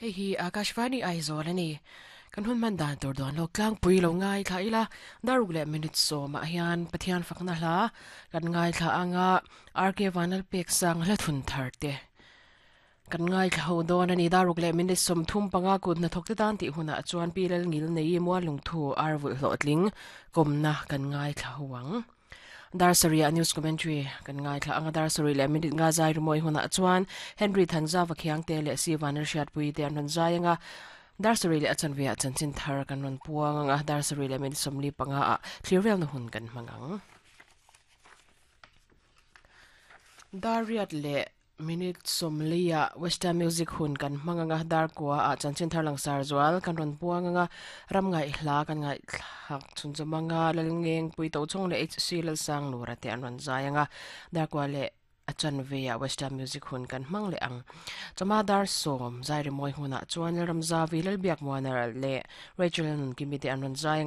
Hei hi Akashvani Aizawl a ni. Kan hun hman dan tur dawn lawk tlangpui lo ngaithla ila, daruk leh minute sawmah hian Pathian fakna hla kan ngaithla anga RK Vanlalpek sang hla thun thar te kan ngaithla ho dawn a ni. Daruk leh minute 35 kut hnathawk te tan tih hunah chuan Pi Lalngil nei Muallungthu ar vulh hlawhtling kawmna kan ngaithla ho ang. Dar sarih ah news commentary kan ngaithla ang a, dar sarih leh minute nga zai rimawi hunah chuan Henry Thanzava Khiangte leh Si Vanel Hriatpui te an rawn zai ang a, dar sarih leh a chanve ah chanchin thar kan rawn puang ang a, dar sarih leh minute 45 ah thlir velna hun kan hmang ang. Dar riat leh Minute 40 ah Western Music hun kan hmang anga Darkua ah chanchin thar langsar zual kan rawn puang anga ram ngaihhla kan ngaihthlak chhunzawm anga Lalngeng Pui Tochhawng leh HC Lalsang Lura te an rawn zai anga Darkua leh a chanve ah Western Music hun kan hmang leh ang. Chawhma dar 10 zai rimawi hunah chuan Lalramzavi Lalbiakmuana leh Rachel Nunkimi te an rawn zai anga.